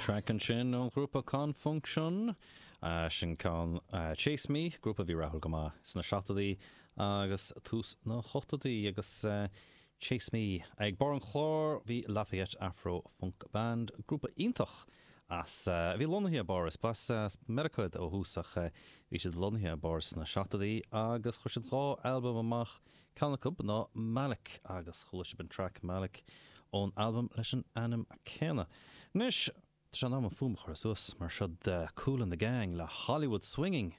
Traic ansin ón ghrúpa Con Funk Shun, sin ceann Chase Me, grúpa a bhí rathúil go maith sna seachtóidí agus tús na hochtóidí agus Chase Me. Ag barr an chláir bhí Lafayette Afro Funk Band, grúpa iontach as, a bhí lonnaithe i bPáras, b'as Meiriceá iad ó thús ach bhí siad lonnaithe i bPáras sna seachtóidí agus chuir siad dhá albam amach, ceann acu ná Malik agus chuala sibh an traic Malik ón albam leis an ainm céanna. Anois, tá sé in am an fuaim a chur suas, mar seo Kool and the Gang le Hollywood Swinging.